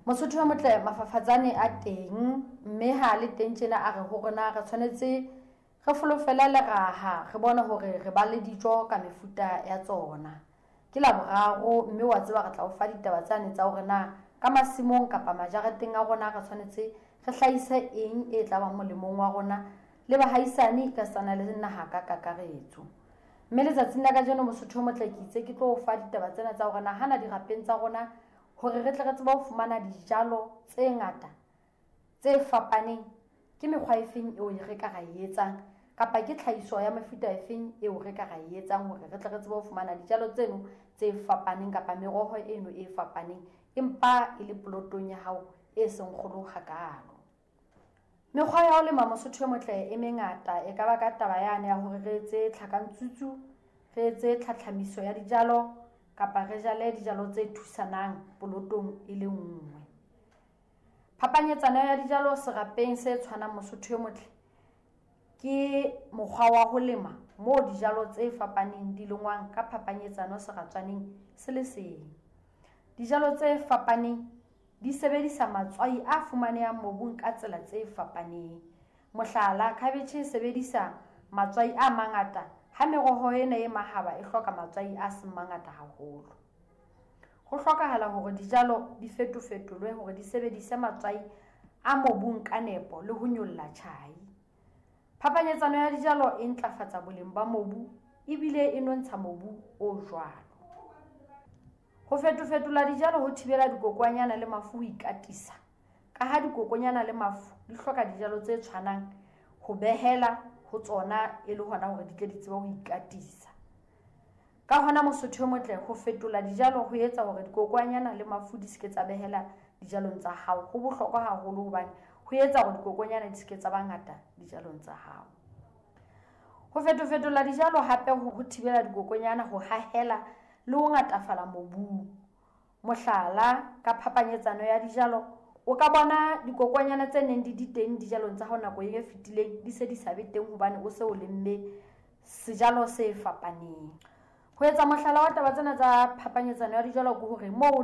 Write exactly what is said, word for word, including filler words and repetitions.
Mosotho o motle, mafafatsane a teng, mme ha le teng tjena a re ho rona re tshwanetse re folofele leraha, re bone hore re ba le dijo ka mefuta ya tsona. Ke Laboraro, mme wa tseba re tla o fa ditaba tsane tsa hore na ka masimong kapa majareteng a rona re tshwanetse re hlahise eng e tla bang molemong wa rona le bahaisane ka sana le naha ka kakaretso. Mme letsatsing la kajeno Mosotho o motle ke itse ke tlo o fa ditaba tsena tsa hore na hana dirapeng tsa rona hore re tle re tsebe ho fumana dijalo tse ngata tse fapaneng, ke mekgwa e feng eo re ka ra e etsang kapa ke tlhahiso ya mefuta e feng eo re ka ra e etsang hore re tle re tsebe ho fumana dijalo tseno tse fapaneng kapa meroho eno e fapaneng empa e le polotong ya hao e seng kgolo hakaalo. Mekgwa ya ho lema Mosotho o motle e mengata, e ka ba ka taba yane ya hore re etse tlhakantsutsu, re etse tlhatlhamiso ya dijalo kapa re jale dijalo tse thusanang polotong e le nngwe. Phapanyetsano ya dijalo serapeng se tshwanang Mosotho o motle ke mokgwa wa ho lema moo dijalo tse fapaneng di lengwang ka phapanyetsano seratswaneng se le seng. Dijalo tse fapaneng di sebedisa matswai a fumanehang mobung ka tsela tse fapaneng. Mohlala, khabetjhe e sebedisa matswai a mangata ha meroho ena e mahaba e hloka matswai a seng mangata haholo. Ho hlokahala hore dijalo di fetofetolwe hore di sebedise matswai a mobung ka nepo le ho nyolla tjhai. Phapanyetsano ya dijalo e ntlafatsa boleng ba mobu ebile e nontsha mobu o jwalo. Ho fetofetola dijalo ho thibela dikokwanyana le mafu ho ikatisa, ka ha dikokonyana le mafu di hloka dijalo tse tshwanang ho behela ho tsona e le hona hore di tle di tsebe ho ikatisa. Ka hona Mosotho o motle, ho fetola dijalo ho etsa hore dikokwanyana le mafu di se ke tsa behela dijalong tsa hao. Ho bohlokwa haholo hobane ho etsa hore dikokonyana di se ke tsa ba ngata dijalong tsa hao. Ho fetofetola dijalo hape ho thibela dikokonyana ho hahela le ho ngatafala mobung. Mohlala, ka phapanyetsano ya dijalo o ka bona dikokwanyana tse neng di di teng dijalong tsa hao nako e fetileng di se di sa be teng hobane o se o lemme sejalo se fapaneng. Ho etsa mohlala wa taba tsena tsa phapanyetsano ya dijalo ke hore moo